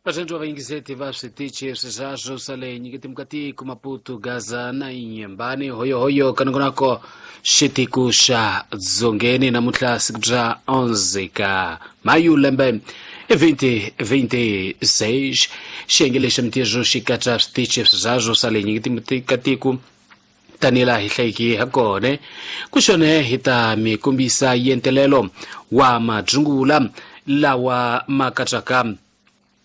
Vatsongo va yingiseti va switichi sweswo swa le nyiketimukatiko Maputo, Gaza na Inyembani, hoyohoyo kanongonako xitiku xa dzongeni. Namuntlha siku bya 11 ka mayu lembe 2026, xiyenge lexi mintirho xi katsa switichi sweswo swa le nyiketimukatiko tanihi laha hi hlayiki ha kona. Ku xone hi ta mi kombisa yentelelo wa madzungula lawa ma katsaka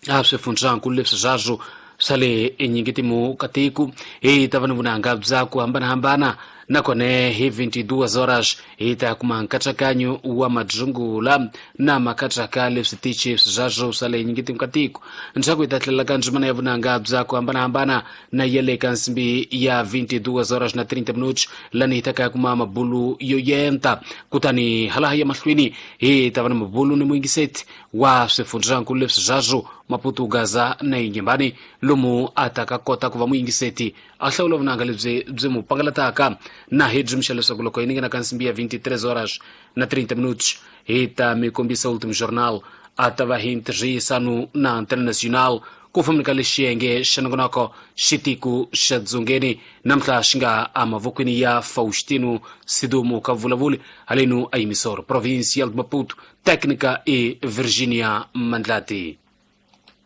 a swifundzankulu leswi swaswo swa le enyingitimu ka tiko. Hi ta va ni vunanga bya ku hambanahambana, nakona hi 22 horas hi ta kuma nkatsakanyo wa madzungula na makatsaka leswi tichi sweswo swa le nyingitimu ka tiko. Ndzhaku hi ta tlhelela ka ndzimana ya vunanga bya ku hambanahambana na ya le ka nsimbi ya 22 horas na 30 minutos, lani hi ta ka kuma mabulu yo yenta. Kutani halaha ya mahlweni hi ta va na mabulu ni muyingiseti wa swifundzankulu leswi swaswo Maputo, Gaza na Inyembani, lomu a ta ka kota ku va muyingiseti a hlawula vunanga lebyi byi mu pangalataka. Na hi byi mixa leswaku loko hi ni nghena ka nsimbi ya 23 horas na 30 minutos hi ta mi kombisa Ultimo Journal, a ta va hi ntirhisano na Antena Nacional ku fambeni ka lexiyenge xa nongonoko xitiku xa dzongeni namuntlha xi nga emavokweni ya Faustino Sidumo ka vulavuli halenu a yimisoro Provincial de Maputo, técnica e Virginia Mandlati.